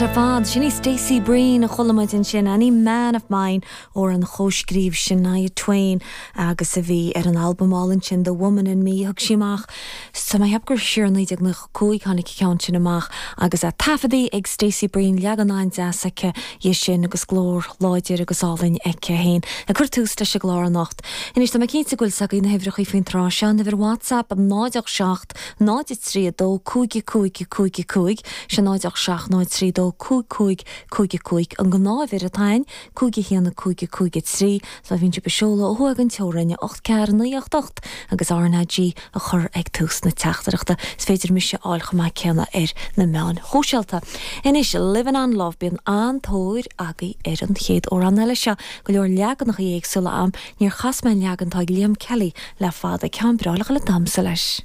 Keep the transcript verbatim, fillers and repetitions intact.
An-deas ar fad sin í Stacey Breen a chuala muid ansin Any Man of Mine amhrán a chomhscríobh Shania Twain agus a bhí ar an albam álainn sin The Woman in Me thug sí amach Sa mé gur siar naoi déag nócha cúig tháinig an ceann sin amach agus a taifeadtaí ag Stacey Breen leagan an-deas aici dhe sin agus glór láidir agus álainn aici féin ag cur tús leis an gclár anocht. Anois tá mé cinnte go bhfuil a fhios agaibh na huimhreacha faoin tráth seo uimhir WhatsApp náid seacht náid trí dó cúig cúig cúig cúig sé náid seacht náid trí dó cúig cúig cúig cúig an ghnáthuimhir atá ann cúig haon cúig cúig trí so bhíonn sibh ag seoladh ó thuaidh den teorainn ocht ceathair naoi ocht ocht agus RnaG a chur ag tús na teachtaireachta. Is féidir mise a fháil chomh maith céanna ar na meáin shóisialta. Anois Living on Love bíonn an-tóir agaibh ar an chéad amhrán eile seo go leor leaganacha éagsúla ann níor chas mé an leagan atá ag Liam Kelly le fada ceann breá le damhsa leis.